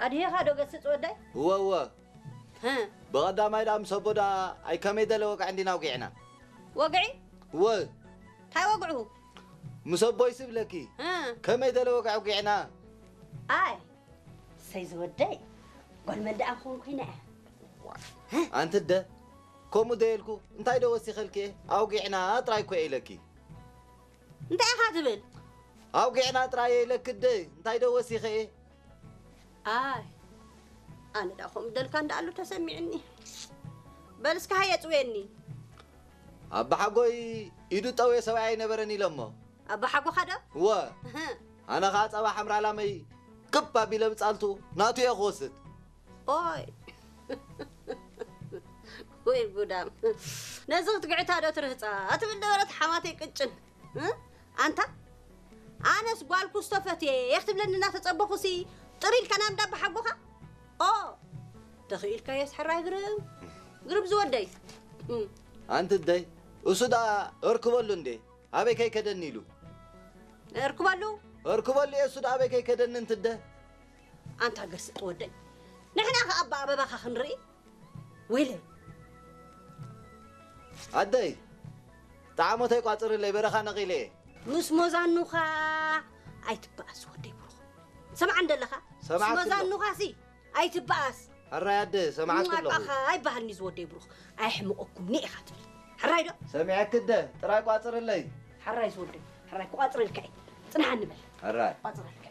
ኣድሂኻ ዶ ገስጽ ወደይ? እወ እወ። ብቐዳማይ ደኣ ምስ ኣቦ ደኣ ኣይ ከመይ ደለ ወግዒ እንዲና ኣውጊዕና። ወግዒ? እወ። እንታይ ወግዑ? ምስ ኣቦይ ስብለኪ ከመይ ደለ ወግዒ ኣውጊዕና። ኣይ ሰይ ዝወደይ ጓል መን ደኣ ክኾን ኮይና እያ። ኣንቲ ደ ከምኡ ደየልኩ እንታይ ዶ ወሲኸልኪ ኣውጊዕና ጥራይ እኮ ኢለኪ። እንታይ ኢኻ ትብል? ኣውጊዕና ጥራይ ኢለኪ ደ እንታይ ዶ ወሲኸ እየ። ኣይ ኣነ ዳ ከምኡ ደልካ እንዳኣሉ ተሰሚዕኒ። በል እስከ ሃየ ጽውየኒ። ኣባሓጎይ ኢዱ ጠውየ ሰብኣይ ኣይነበረን ኢሎሞ። ኣባሓጎኻ ዶ? እወ። ኣነ ኸዓ ጸባ ሓምራ ላመይ ክብ ኣቢለ ብጻልቱ ናቱ እየ ክወስድ። ኦይ ወይ ጉዳም፣ ነዚ ክትግዕታ ዶ ትርህጻ ትብል ነበረት ሓማተይ ቅጭን። ኣንታ ኣነስ ጓል ኩስቶ ፈትየ ክትብለኒ እናተጸበኹሲ ጥር ኢልካ ናብ እንዳ ኣባሓጎኻ? ኦ ተኽኢልካዮስ ሕራይ ግርም ግርም ዝወደይ። ኣንቲ ደይ እሱ ደኣ እርክበሉ እንዴ ኣበይ ከይከደኒ ኢሉ። እርክበሉ እርክበሉ እየ እሱ ደኣ ኣበይ ከይከደኒ እንትደ። ኣንታ ገስጥ ወደይ ንሕና ከኣ ኣባ ኣበባኻ ክንርኢ ወይለይ። ኣደይ ጣዕሞተይ ቋጽርለይ በረኻ ነቒለ እየ። ምስ ሞዛኑኻ ኣይትበኣስ ወደይ ብሩኽ። ሰምዓ እንደለኻ ምስ ሰማዕኩ ኣለኹ። ሞዛኑኻ ሲ ኣይትበኣስ። ሕራይ ኣደ ሰማዕኩ ኣለኹ። ኣቃኻ ኣይበሃልኒ ዝወደይ ብሩኽ። ኣየሕምቐኩምኒ ኢኻ ትብል። ሕራይ ዶ? ሰሚዐኪ ኣደ ጥራይ ቋጽርለይ። ሕራይ ዝወደይ ሕራይ ክቋጽረልካ እየ። ጽንሓኒ በል። ሕራይ። ቋጽረልካ እየ።